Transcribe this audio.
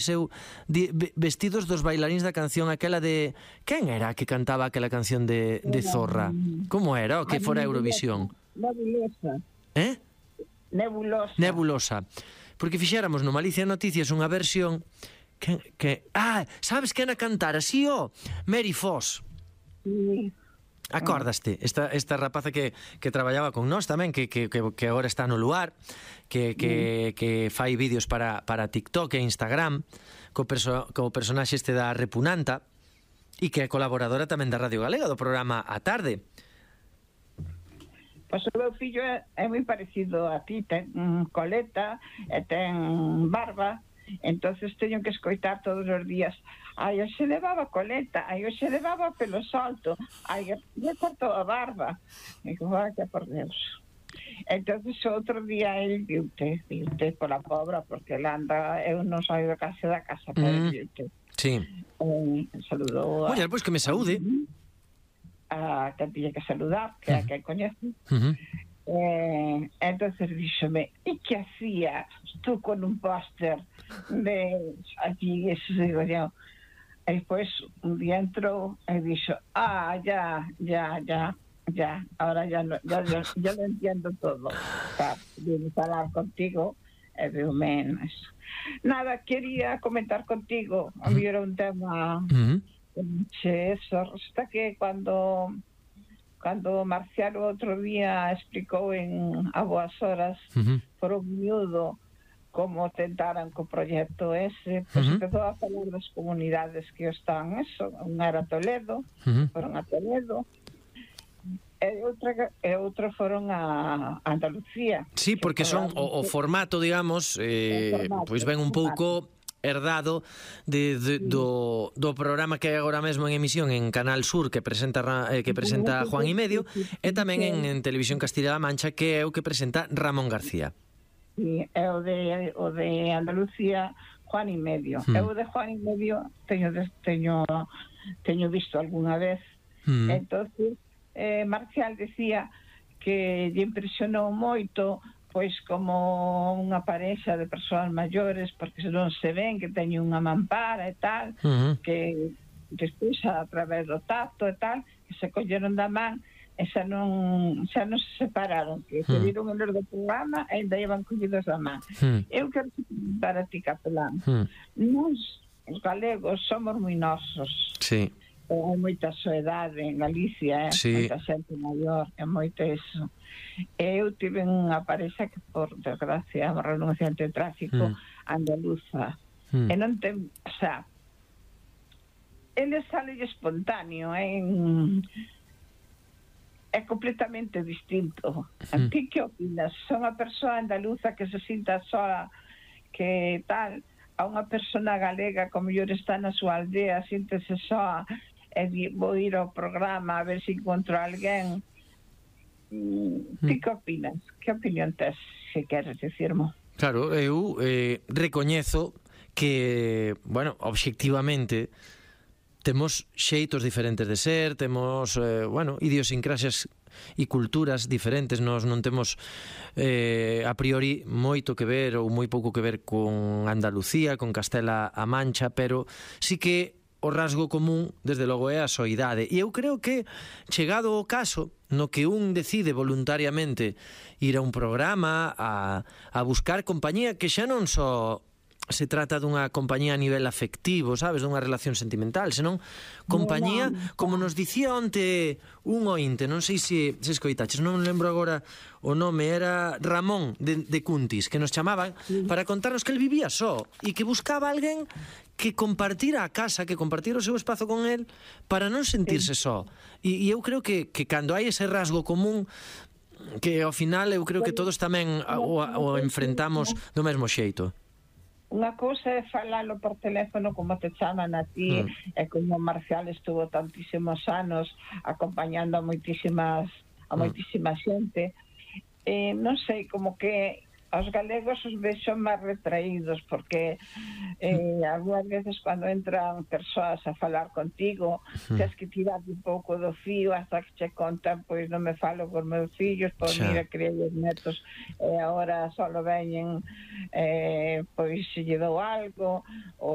seu vestidos dos bailaríns da canción aquela de... Quen era que cantaba aquela canción de Zorra? Como era o que fora Eurovisión? Nebulosa. Nebulosa. Porque fixéramos no Malicia Noticias unha versión sabes quen a cantar así, Mary Foss. Sí. Acordaste? Esta rapaza que traballaba con nós tamén, que agora está no Luar, que fai vídeos para TikTok e Instagram, co personaxe este da Repunanta, e que é colaboradora tamén da Radio Galega, do programa A Tarde. Pois o meu fillo é moi parecido a ti, ten coleta e ten barba, entonces teño que escoitar todos os días: ai, hoxe levaba coleta, ai, hoxe levaba pelo solto, ai, lle cortou a barba. E digo, vaya por Deus. Entonces outro día el viute pola pobra, porque ela anda, eu non saio da casa, pero viute. Sí. Saludou a... Oye, pois que me saúde. A que tiña que saludar, que é a que coñece. Entonces díxome: e que hacía tú con un póster de aquí? Eso digo yo. E despois un día entrou e dixo: ya, ahora ya lo entiendo todo. Vine falar contigo e veo menos. Nada, quería comentar contigo. A mí era un tema eso, resulta que cuando Marcial o outro día explicou a boas horas por un miúdo como tentaran co proxecto ese, pois empezou a falar das comunidades que están unha era Toledo, foron a Toledo, e outra foron a Andalucía. Sí, porque son o formato, digamos, pois ven un pouco herdado do programa que hai agora mesmo en emisión en Canal Sur, que presenta Juan y Medio, e tamén en Televisión Castilla-La Mancha, que é o que presenta Ramón García. Sí, é o de Andalucía, Juan y Medio. Eu de Juan y Medio teño visto algunha vez. Entonces Marcial decía que lle impresionou moito, pois como unha parexa de persoas maiores, porque se non se ven, que teñen unha mampara e tal, que despois a través do tacto e tal, que se colleron da man e xa non se separaron, que se viron en los do programa e ainda iban collidos da man. Eu quero para ti, Capelán, nós, os galegos, somos moi nosos. Sí. Hai moita soedade en Galicia, moita xente maior, é moito eso. Eu tive unha parexa que, por desgracia, morreu nun accidente de tráfico, andaluza, e non ten, o sea, ele sale espontáneo, é completamente distinto. A ti que opinas? Son a persoa andaluza que se sinta sola, que tal, a unha persona galega como mellor está na súa aldea, síntese soa, e vou ir ao programa a ver se encontro alguén. Ti que opinas? Que opinión tes, se queres dicirmo? Claro, eu recoñezo que, bueno, obxectivamente temos xeitos diferentes de ser, temos, idiosincrasias e culturas diferentes. Nós non temos a priori moito que ver ou moi pouco que ver con Andalucía, con Castela-A Mancha, pero sí que o rasgo común, desde logo, é a soidade. E eu creo que, chegado o caso no que un decide voluntariamente ir a un programa a buscar compañía, que xa non só se trata dunha compañía a nivel afectivo, sabes, dunha relación sentimental, senón compañía, como nos dicía onte un ointe, non sei se escoitaches, non lembro agora o nome, era Ramón de Cuntis, que nos chamaban para contarnos que el vivía só e que buscaba alguén que compartira a casa, que compartira o seu espazo con el para non sentirse só. E eu creo que cando hai ese rasgo común, que ao final eu creo que todos tamén o enfrentamos do mesmo xeito. Unha cousa é falalo por teléfono como te chaman a ti, e como Marcial estuvo tantísimos anos acompañando a moitísima xente. Non sei, como que aos galegos os vexo máis retraídos, porque algunhas veces cando entran persoas a falar contigo, tens que tirar un pouco do fío hasta que che contan, pois non me falo con meus fillos, pois mira, criei os netos, e agora só veñen pois se lle dou algo, ou